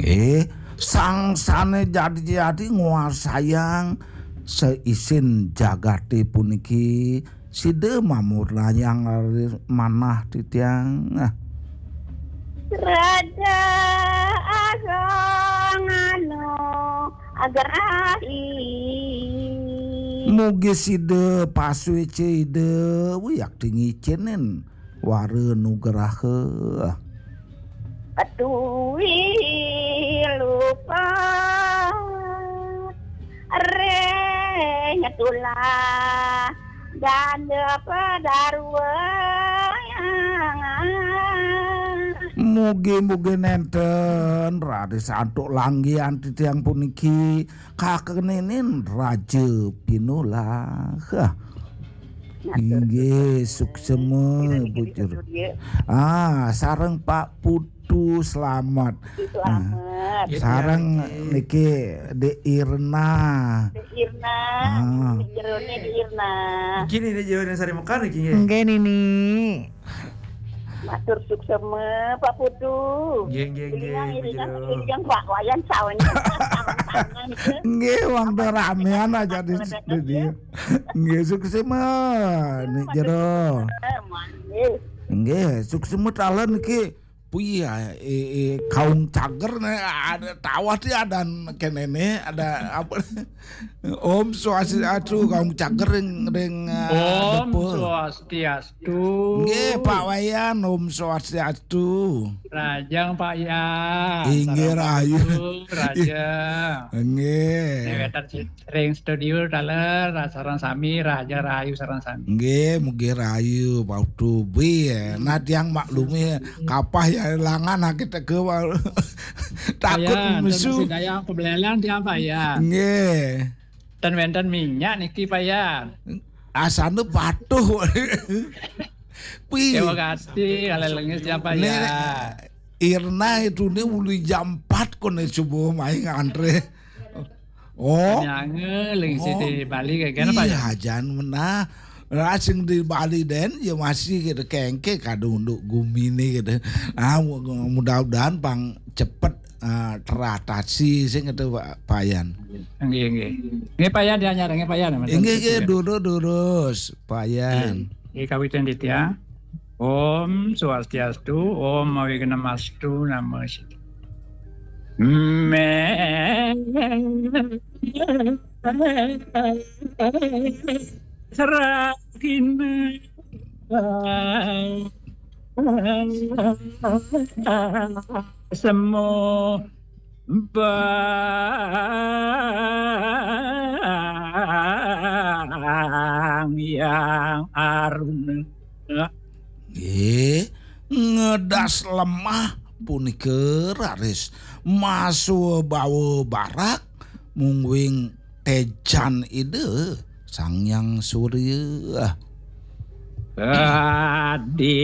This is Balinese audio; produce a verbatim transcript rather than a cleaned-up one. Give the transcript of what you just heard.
Eh, sang sané jadi-jadi nguasayang seisin jagaté puniki, sida mamurnayang raris manah titiang. Ah. Raja Agung Anu Agrahi. Mugi sida pasuéca Ida wiakti ngicénin wara nugraha. Atui lupa ring tulah ganda padarwa. Mugi-mugi nénten raris antuk langgihan titiang puniki kakeninin Raja Pinulah. Inggih, suksema, Bu Jero. Ah, sareng Pak Putu, selamat. Selamat. Sareng niki Dek Irna. Dek Irna. Ah. Dek Jeroné Dek Irna. Niki Nini Jeroné Sari Mekar niki nggih. Nggih, Nini. Matur suksema, Pak Putu. Nggih, nggih, nggih, Iringan, Bu Iringan, Jero. Iringan, Pak Wayan, sawengi. Nggih, wong ramean aja di studio. Nggih, suksema, Nik Jero. Nggih, suksema taler niki. Puya, eh, eh, kaum cager né, ada tawah ti ada kéné né, ada apa? Om Swastiastu, kaum cager ring, ring, eh, Om Depa. Swastiastu. Nggih, Pak Wayan, Om Swastiastu. Rajang, Pak Yan. Inggih, sareng Pak rahayu. Putu, Rajang. Nggih. Ring studio taler, sareng sami, raja rahayu sareng sami. Nggih, mugi rahayu, Pak Putu. Nah, tiang maklumi kapah ya langan kita ke takut. Pak Yan, mesu. Ten sing daya pebelelan tiang, Pak Yan. Nggih. Ten wénten minyak niki, Pak Yan. Asana patuh. Pi. Terima kasih, ale lengis ya, Pak Yan. Irna itu né uli jam empat koné subuh mai ngantré. Oh. Nyangé ling siti Bali kayak gini, Pak. Iya, jan menah. Lah sing di Bali den ya masih gitu kengke kadung unduk guminé gitu. Ah, mudah-mudahan pang cepet, ah, teratasi sing itu, Pak, Pak Yan. Nggih, nggih. Nggih, Pak Yan dianyar, nggih, Pak Yan. Inggih, nggih, durus, durus, Pak Yan. Nggih, kawitan dit ya. Om Swastiastu, Om Awighnamastu, Namo Siddham. Me Serakin Sembah Hyang Aruna. Nggih, ngedas lemah punika raris maswa bawa barak mungguing tejan Ida Sang Hyang Surya. Adine.